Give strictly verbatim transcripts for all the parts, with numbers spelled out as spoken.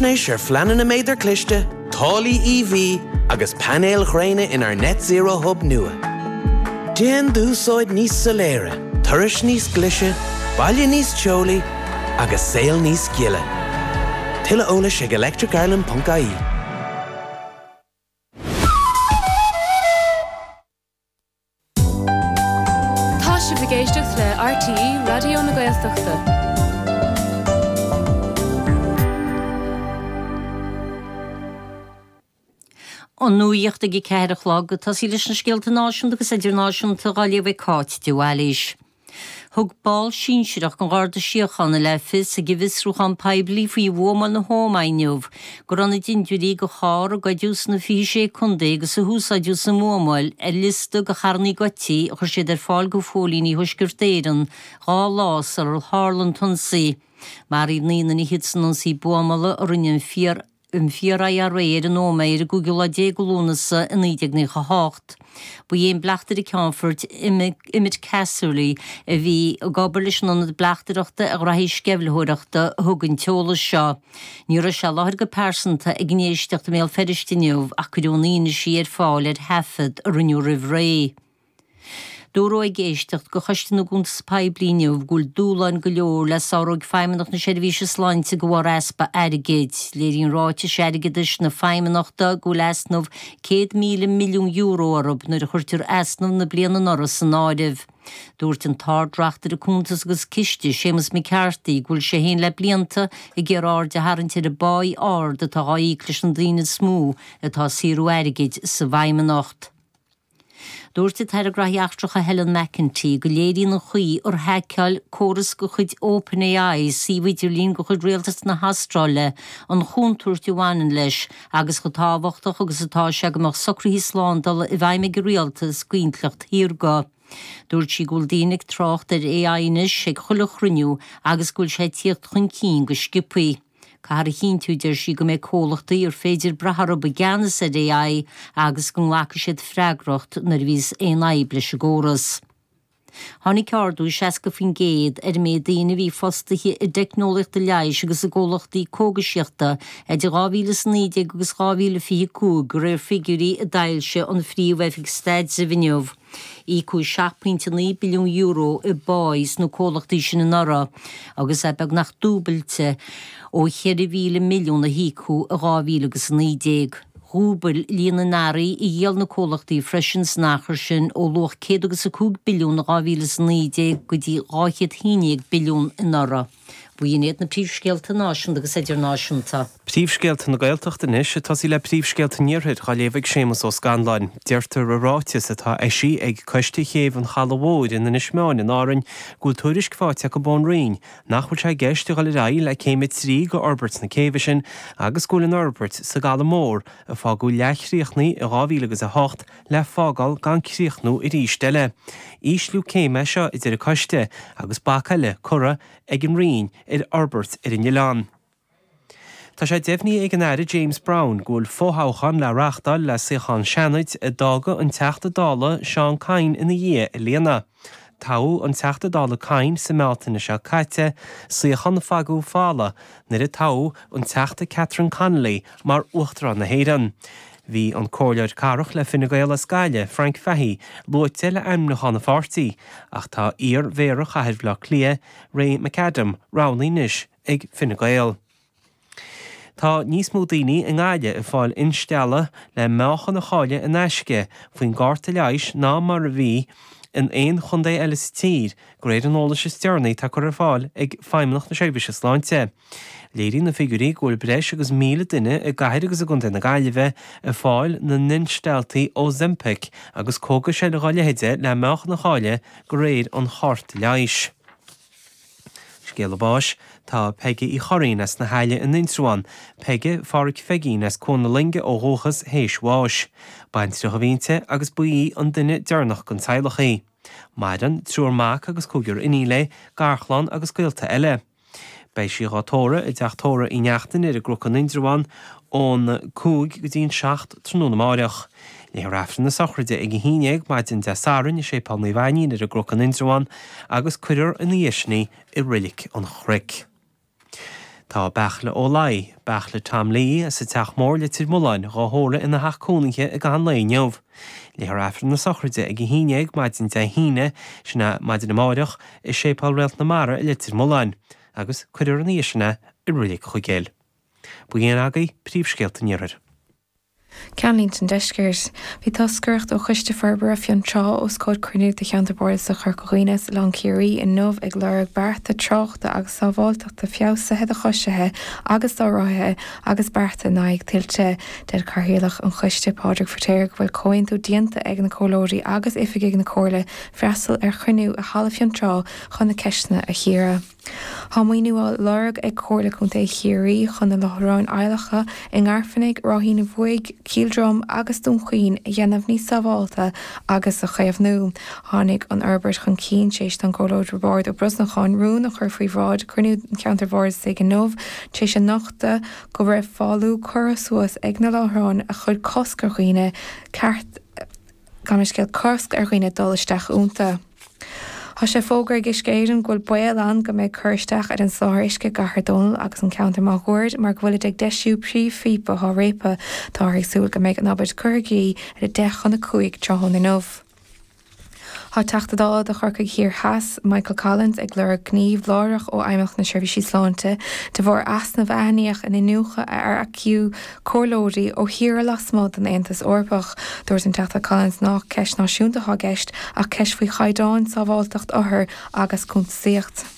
Faisnéis ar phleananna méadar cliste, táillí EV agus painéil ghréine inár Net Zero Hub nua. Déan d'úsáid níos soiléire, turais níos glaise, baile níos teolaí agus saol níos gile. Tuilleadh eolais ag electricireland.ie. Tá sibh ag éisteacht le RTÉ Raidió na Gaeltachta. An nuacht ag a ceathair a chlog ag tosaí leis na scéalta náisiúnta agus idirnáisiúnta á léamh ag Cáit de Bhailís. Thug ball sinsearach den Gharda Síochána le fios ag an bhfiosrúchán poiblí faoi bhuamáil na hÓmaí inniu go raibh na dintiúirí de charr a goideadh sna fiche sé contae agus a húsáideadh sa mbuamáil ar liosta de charranna goidte a chuir siad ar fáil do phóilíní Thuaisceart Éireann dhá lá sular tharla an t-ionsaí. Maraíodh naoi nduine fhichead san ionsaí buamála a rinne an fíor an fíor-IRA ar an Ómaigh ar an gcúigiú lá déag de Lúnasa i naoi déag nócha a hocht. Ba é an bleachtaire ceannfoirt Emmet Casserly a bhí ag obair leis an ionad bleachtaireachta ar ghraithí sceimhlitheoireachta a thug an t-eolas seo. Ní raibh sé i láthair go pearsanta ag an éisteacht i mBéal Feirste inniu ach cuireadh an fhianaise ar fáil ar thaifead a rinneadh roimh ré. Dúradh ag éisteacht do Choiste na gCuntas Poiblí inniu go bhfuil dúshláin go leor le sárú ag Feidhmeannacht na Seirbhíse Sláinte de bharr easpa airgid. Léiríonn ráitis airgeadais na Feidhmeannachta go bhfuil easnamh céad míle milliún euro orthu nuair a chuirtear easnamh na bliana anuraidh san áireamh. Dúirt an tArd-Reachtaire Cuntas agus Ciste, Séamus McCarthy, go bhfuil sé féin le blianta ag iarraidh aird a tharraingt ar an bpá ard atá á íoc leis na daoine is mó atá ag saothrú airgid sa bhFeidhmeannacht. Dúirt an tAire Gnóthaí Eachtracha Helen McEntee go léiríonn an chaoi ar haiceáil córas de chuid OpenAI suíomh idirlín de chuid Rialtas na hAstráile an chontúirt a bhaineann leis agus chomh tábhachtach agus atá sé go mbeadh socruithe slándála i bhfeidhm ag an rialtas d'intleacht shaorga. Dúirt sí go bhfuil daoine ag trácht ar AI anois ag chuile chruinniú agus go bhfuil sé ag tíocht chun cinn go sciobtha. Caithfear a chinntiú, deir sí, go mbeidh comhlachtaí ar féidir brath orthu i gceannas ar AI agus go nglacfaidh siad freagracht nuair a bhíos aon fhadhb leis an gcóras. Tháinig ardú seasca faoin gcéad ar an méid daoine a bhí fostaithe i dteicneolaíochtaí leighis agus i gcomhlachtaí cógaisíochta idir dhá mhíle is a naoi déag agus dhá mhíle fiche cúig, de réir figiúirí a d'fhoilsigh an Phríomh-Oifig Staidrimh inniu. Íocadh seacht pointe naoi billiún euro i bpá sna comhlachtaí sin anuraidh agus é beagnach dúbailte ó cheithre mhíle milliún a híocadh i dhá mhíle agus a naoi déag. Dhúbail líon na n-earraí a dhíol na comhlachtaí freisin san achar sin ó luach céad agus a cúig billiún i dhá mhíle is a naoi déag go dtí dhá chéad haon déag billiún anuraidh. B'in iad na príomhscéalta náisiúnta agus idirnáisiúnta. Príomhscéalta na Gaeltachta anois, ag tosaí le príomhscéalta an Iarthair, á léamh ag Séamus Ó Scanláin. Deirtear i ráiteas atá eisithe ag Coiste Chéibh an Chalaidh Mhóir in Inis Meáin in Árainn go bhfuil tuairisc faighte acu ón Roinn nach bhfuil sé i gceist a dhul ar aghaidh le céim a trí de fhorbairt na céibhe sin agus go bhfuil an fhorbairt sa gCaladh Mór a fágadh leathchríochnaithe i dhá mhíle agus a hocht le fágáil gan críochnú arís eile. Ísliú céime é seo, a deir an coiste, agus bac eile curtha ag an Roinn ar fhorbairt ar an oileán. Tá sé deimhnithe ag an Aire James Browne go bhfuil fothoghchán le reáchtáil le suíochán Seanaid a d'fhága an Teachta Dála Seán Kyne ina dhiaidh a líonadh. Toghadh an Teachta Dála Kyne sa mBealtaine seo caite, suíochán a fágadh folamh nuair a toghadh an Teachta Catherine Connolly mar Uachtarán na hÉireann. Bhí an Comhairleoir Cathrach le Fine Gael as Gaillimh, Frank Fahey, luaite le ainmniúchán an pháirtí, ach tá iar-Mhéara Chathair Bhaile Átha Cliath, Ray McAdam, roghnaithe anois ag Fine Gael. Tá níos mó daoine i nGaillimh ag fáil instealladh le meáchan a chailleadh in aisce faoin gcárta leighis ná mar a bhí in aon chontae eile sa tír, de réir an eolais is deireanaí atá curtha ar fáil ag Feidhmeannacht na Seirbhíse Sláinte. Léiríonn na figiúirí go bhfuil breis agus míle duine i gcathair agus i gcontae na Gaillimhe ag fáil na n-instealltaí Ozempic agus cógais eile dá leithéide le meáchan a chailleadh de réir an chárta leighis. Scéala báis, Tá Peige Uí Churraoin as na hAille in Indreabhán, Peige Pháraic Pheigín as Cuan na Loinge ó dhúchas, théis bháis. Baintreach a bhí inti agus ba í an duine deireanach den teaghlach í. Maireann triúr mac agus cúigear iníon léi, garchlann agus gaolta eile. Beidh sí dhá tórramh i dTeach Tórraimh Uí Neachtain ar an gCnoc in Indreabhán ón cúig go dtí an seacht tráthnóna amáireach. Léifear Aifreann na sochraide ag a haon dhéag maidin Dé Sathairn i Séipéal Naomh Ainnín ar an gCnoc in Indreabhán agus cuirfear ina dhiaidh sin í i Reilig an Chnoic. Tá Beartla Ó Laoi, Beartla Tom Lee as an Teach Mór Leitir Mealláin á thórramh ina theach cónaithe i gcaitheamh an lae inniu. Léifear Aifreann na sochraide ag a haon déag maidin Dé hAoine, sin é maidin amárach, i Séipéal Réalt na Mara i Leitir Mealláin, agus cuirfear ina dhiaidh sin é i Reilig Chuigéil. B'in agaibh príomhscéalta an iarthair. Ceannlínte an Deiscirt. Bhí toscaireacht ó Choiste Forbartha Fionntrá os comhair cruinniú de Cheantar Bardasach Chorca Dhuibhne is Oileán Ciarraí inniu ag lorg bearta tráchta agus sábháilteachta feabhsaithe do choisithe agus do rothaithe agus bearta in aghaidh tuilte. Deir Cathaoirleach an Choiste Pádraig Feiritéar go bhfuil comhaontú déanta ag na comhairleoirí agus oifigigh na Comhairle freastal ar chruinniú i Halla Fionntrá chun na ceisteanna a chíoradh. Tá maoiniú á lorg ag Comhairle Contae Chiarraí chun na láithreáin adhlactha i nGairfeanaigh, Ráithín an Bhuaigh, Cill Drom agus Dún Chaoin a dhéanamh níos sábháilte agus a chaomhnú. Tháinig an fhorbairt chun cinn tar éis don Chomhairleoir Roibeárd Ó Brosnacháin rún a chur faoi bhráid cruinniú an Cheantair Bhardasaigh inniu tar éis a nochtadh go raibh fálú curtha suas ag na láithreáin a chuir cosc ar dhaoine ceart gan scéal cosc ar dhaoine dul isteach iontu. Tá sé fógartha ag Uisce Éireann go bhfuil baol ann go mbeidh cur isteach ar an soláthar uisce i gCathair Dónall agus an ceantar máguaird mar go bhfuilid ag deisiú príomhphíopa atá réabtha. Táthar ag súil go mbeidh an obair curtha i gcrích ar a deich chun a cúig tráthnóna inniu. Tá Teachta Dála do Chorcaigh Thiar Theas, Michael Collins ag lorg gníomh láithreach ó Fheidhmeannacht na Seirbhísí Sláinte de bharr easnamh a aithníodh in iniúchadh a earcaíodh comhairleoirí ó thíortha lasmuigh den Aontas Eorpach. Dúirt an Teachta Collins nach ceist náisiúnta atá i gceist ach ceist faoi chaighdeán sábháilteacht othar agus cuntasaíocht.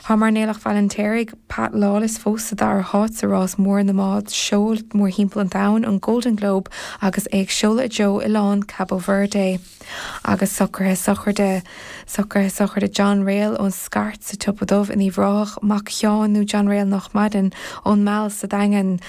Tá mairnéalach Bhaile an Pat Lawless fós sa dara háit sa rás mór na mbád seoil mórthimpeall an domhain an Golden Globe agus é ag seoladh i dtreo oileán Cabo Verde. Agus socruithe sochraide socruithe sochraide John Rail ón Scairt sa Tsiopa Dubh in Uíbh Ráthach mac Sheáin nó John Rail nach maireann ón Meall sa Daingean.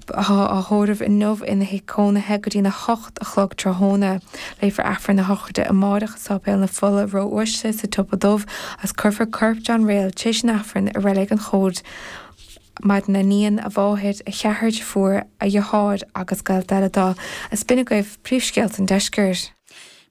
Tá á thórramh inniu ina thigh cónaithe go dtína hocht a chlog tráthnóna. Léifear Aifreann na sochraide amárach i Séipéal na Fola Ró-Uaisle sa Tsiopa Dubh agus cuirfear corp John Rail tar éis an Aifrinn i Reilig an Chóid Maireann a iníon a mháthair a cheathrar deirfiúr a dheartháir agus gaolta eile dó. Is b'in agaibh príomhscéalta an deiscirt.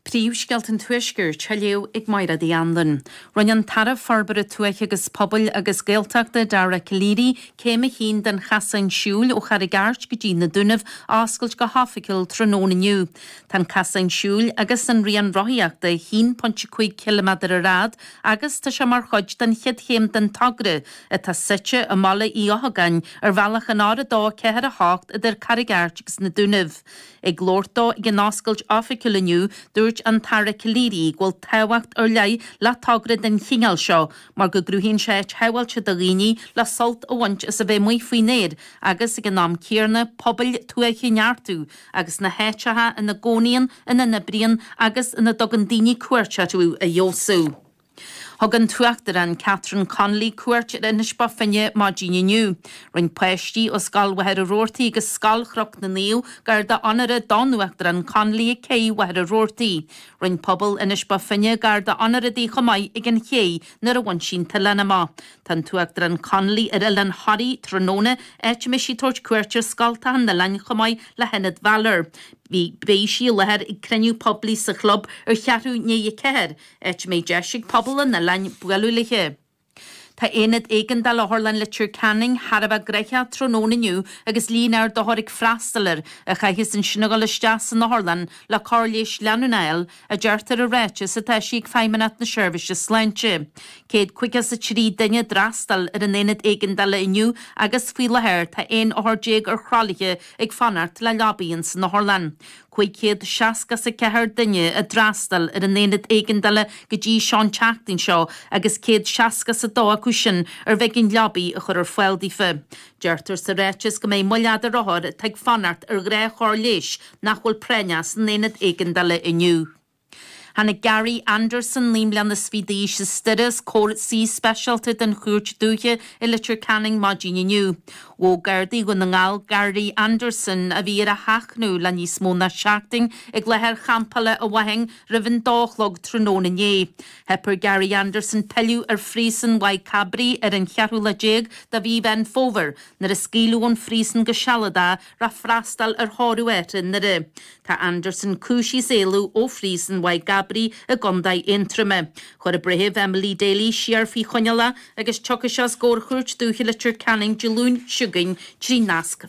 Príomhscéalta an Tuaiscirt á léamh ag Máire Uí Anluain. Rinne an tAire Forbartha Tuaithe agus Pobail agus Gaeltachta Dara Calleary céim a haon den chasán siúil ó Charraig Airt go dtí na Dúnaibh a oscailt go hoifigiúil tráthnóna inniu. Tá an casán siúil agus an rian rothaíochta haon pointe cúig ciliméadar ar fhad agus tá sé mar chuid den chéad chéim den togra atá suite i mBaile Uí Eochagáin ar bhealach an R a dó ceathair a hocht idir Carraig Airt agus na Dúnaibh. Ag labhairt dó ag an oscailt oifigiúil inniu dúirt an tAire Calleary go bhfuil tábhacht ar leith le togra den chineál seo mar go gcruthaíonn sé áit shábháilte do dhaoine le sult a bhaint as a bheith amuigh faoin aer agus ag an am céanna pobail tuaithe a neartú agus na háiteacha ina gcónaíonn ina n-oibríonn agus ina dtugann daoine cuairt orthu a fheabhsú. Thug an tUachtarán Catherine Connolly cuairt ar Inis Bó Finne maidin inniu. Rinne páistí ó Scoil Mhachaire Rabhartaigh agus Scoil Chnoc na Naomh garda onóra don Uachtarán Connolly ag cé Mhachaire Rabhartaigh. Rinne pobal Inis Bó Finne garda onóra di chomh maith ag an ché nuair a bhain sí an t-oileán amach. Tá an tUachtarán Connolly ar Oileán Thoraí tráthnóna áit a mbeidh sí ag tabhairt cuairt ar scoltacha an oileáin chomh maith le hIonad Bhalor. Bhí beidh sí i láthair ag cruinniú poiblí sa chlub ar cheathrú i ndiaidh a ceathair, áit a mbeidh deis ag pobal an oileáin bualadh léi. Tá aonad éigeandála Otharlann Leitir Ceanainn thar a bheith gnóthach tráthnóna inniu agus líon ard othar ag freastal air a chaithfeas ansin a dhul isteach san otharlann le cóir leighis leanúnach a fháil, a deirtear i ráiteas atá eisithe ag Feidhmeannacht na Seirbhíse Sláinte. Céad caoga is a trí duine a d'fhreastail ar an aonad éigeandála inniu agus faoi láthair tá aon othar déag ar thralaithe ag fanacht le leabaí ins an otharlann. Cúig chéad seasca is a ceathair duine a d'fhreastail ar an aonad éigeandála go dtí seo an tseachtain seo agus céad seasca is a dó acu sin ar bh'éigean leabaí a chur ar fáil daofa. Deirtear sa ráiteas go mbeidh moill fhada ar othair atá ag fanacht ar ghnáthchóir leighis nach bhfuil práinneach san aonad éigeandála inniu. Tháinig Gary Anderson naoi mbliana is fiche d'aois as Doire os comhair suí speisialta den Chúirt Dúiche i Leitir Ceanainn maidin inniu. Ghabh Gardaí Dhún na nGall Gary Anderson a bhí ar a sheachnadh le níos mó ná seachtain ag láthair champála i bhFathain roimh an dó a chlog tráthnóna inné. Theip ar Gary Anderson pilleadh ar phríosún Mhaigh Cabraí ar an cheathrú lá déag de mhí Mheán Fómhair nuair a scaoileadh ón phríosún go sealadach le freastal ar thórramh athar i nDoire. Tá Anderson cúisithe as éalú ó phríosún Mhaigh Bhabraí i gContae Aontroma. Chuir an Breitheamh Emily Daly siar faoi choinneáil é agus tiocfaidh sé os comhair Chúirt Dúiche Leitir Ceanainn Dé Luain seo chugainn trí nasc